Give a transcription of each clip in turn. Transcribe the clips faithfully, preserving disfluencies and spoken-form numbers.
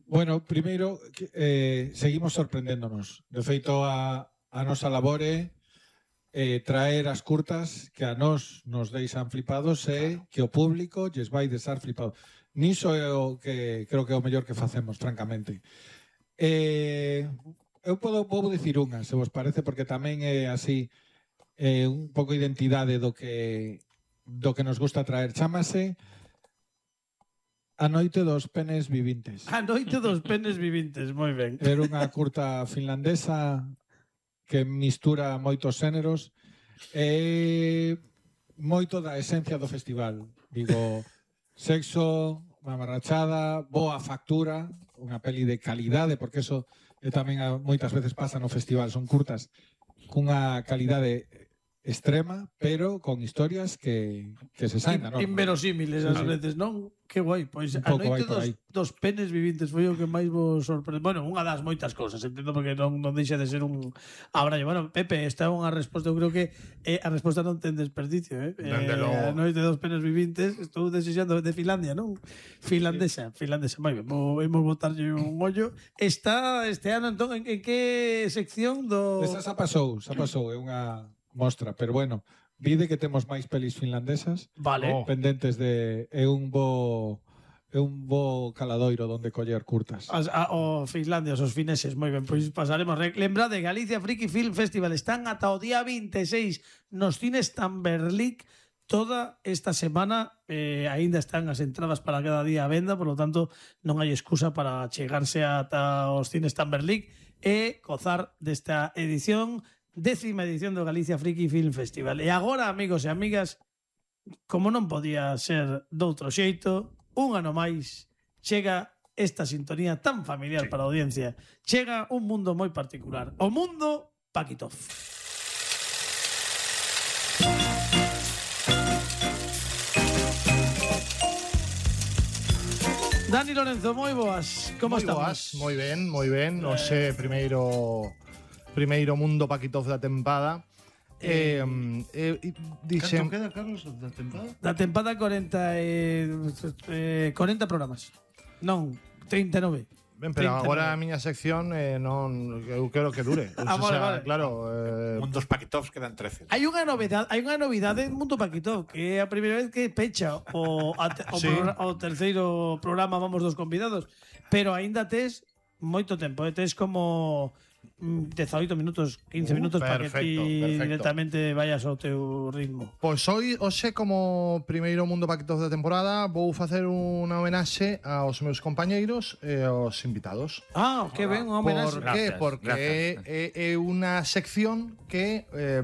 Bueno, primeiro, eh, seguimos sorprendéndonos. De feito, a, a nosa labore eh, traer as curtas que a nós nos deixan flipados e que o público lles vai deixar flipados. Niso é o que creo que é o mellor que facemos, francamente. Eh, eu podo, podo dicir unha, se vos parece, porque tamén é así eh, un pouco identidade do que do que nos gusta traer. Chámase A noite dos penes vivintes. A noite dos penes vivintes, moi ben. Era unha curta finlandesa que mistura moitos xéneros e moito da esencia do festival. Digo, sexo, mamarrachada, boa factura, unha peli de calidade, porque eso é tamén a, moitas veces pasa no festival, son curtas cunha calidade extrema, pero con historias que, que se saen da norma. Inverosímiles ás veces, non? Que guai, pois a noite dos, dos penes vivintes foi o que máis vos sorprende. Bueno, unha das moitas cousas, entendo, porque non, non deixa de ser un abrallo. Bueno, Pepe, esta é unha resposta, eu creo que eh, a resposta non ten desperdicio, eh? eh a noite dos penes vivintes, estou desexando de Finlandia, non? Finlandesa, finlandesa, moi ben, vamos botarlle un ollo. Está este ano, entón, en, en que sección do... Esa xa pasou, xa pasou, é unha mostra, pero bueno, vide que temos máis pelis finlandesas, vale, pendentes de é un bo é un bo caladoiro onde coller curtas. As, a, o Finlandia, os fineses, moi ben, pois pasaremos. Lembrade, Galicia Friki Film Festival están ata o día vinte e seis nos cines Tamberlik. Toda esta semana eh, aínda están as entradas para cada día a venda, por lo tanto non hai excusa para chegarse ata os cines Tamberlik e gozar desta edición, décima edición do Galicia Friki Film Festival. E agora, amigos e amigas, como non podía ser doutro xeito, un ano máis chega esta sintonía tan familiar sí. para a audiencia. Chega un mundo moi particular, o mundo Paquitov. Dani Lorenzo, moi boas. Como moi estamos? Boas, moi ben, moi ben. Eh... Oxe, primeiro primeiro mundo Paquitov da tempada. Eh, eh, eh, dixen... Canto queda, Carlos, da tempada? Da tempada corenta, eh, eh, corenta programas. Non, treinta e nove. Ben, pero agora a miña sección eh, non, eu quero que dure. Ah, vale, vale. Claro, eh... Mundos Paquitovs quedan trece. Hai unha novedade, hai unha novidade en Mundo Paquitov, que é a primeira vez que pecha o, a, o, sí. programa, o terceiro programa Vamos dos convidados, pero aínda tes moito tempo, eh? Tes como dezaoito minutos, quince minutos uh, perfecto, para que ti perfecto. directamente vayas ao teu ritmo. Pois hoy, hoxe, como primeiro Mundo Paquitov da temporada, vou facer unha homenaxe aos meus compañeiros e aos invitados. Ah, que ben, unha homenaxe. Por que? Porque gracias. É, é unha sección que eh,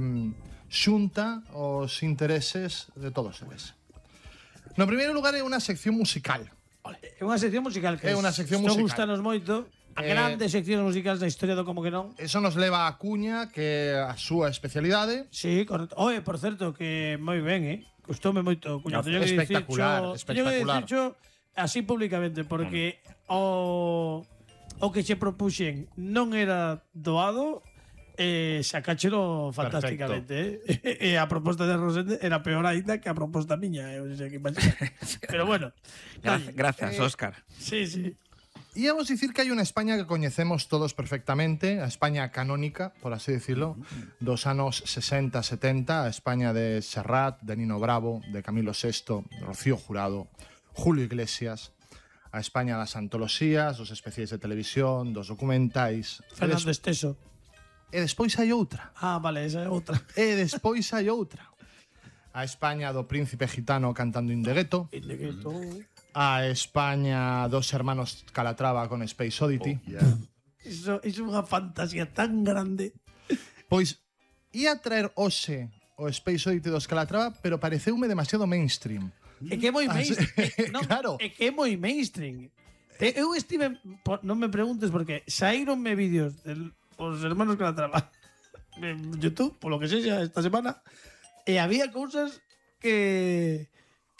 xunta os intereses de todos eles. No primeiro lugar, é unha sección musical. É unha sección musical que é unha sección musical. Gustanos moito. A grandes eh, seccións musicais da historia do Como que non. Eso nos leva a Cuña, que é a súa especialidade. Sí, correcto. Oe, por certo, que moi ben, eh? Gustoume moito, Cuña. No, espectacular, dicicho, espectacular. Teño que dicircho así públicamente, porque mm. o, o que che propuxen non era doado, eh, sacáchelo fantásticamente, eh? E a proposta de Rosende era peor aínda que a proposta miña, eh? O sea, que pero bueno. Gracias, gracias eh, Óscar. Sí, sí. Íamos dicir que hai unha España que coñecemos todos perfectamente, a España canónica, por así decirlo, dos anos sesenta, setenta, a España de Serrat, de Nino Bravo, de Camilo sexto, de Rocío Jurado, Julio Iglesias, a España das antoloxías, dos especiais de televisión, dos documentais... Fernando Esteso. E despois hai outra. Ah, vale, esa é outra. E despois hai outra. A España do príncipe gitano cantando In de Gueto. In de Gueto... A España dos hermanos Calatrava con Space Oddity. Oh, yeah. Iso é unha fantasía tan grande. Pois ia traer hoxe o Space Oddity dos Calatrava, pero pareceume demasiado mainstream. É que é moi mainstream. É, non, claro. É que é moi mainstream. Eu estive, non me preguntes porque saíronme vídeos dos hermanos Calatrava en YouTube, polo que sexa, esta semana, e había cousas que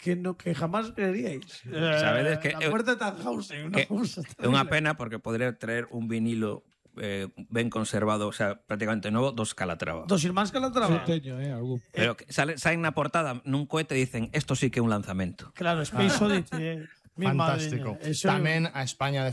que no que jamás creeríais. Sabedes que la puerta de Tannhausen, una cousa. É unha pena porque podría traer un vinilo eh, ben conservado, o sea, prácticamente novo, dos Calatrava. Dos irmáns Calatrava. Sí, teño, eh, algún. Pero que sale, saen na portada nun cohete e dicen, esto sí que é un lanzamento. Claro, Space Oddity, eh. Fantástico. Tamén a España de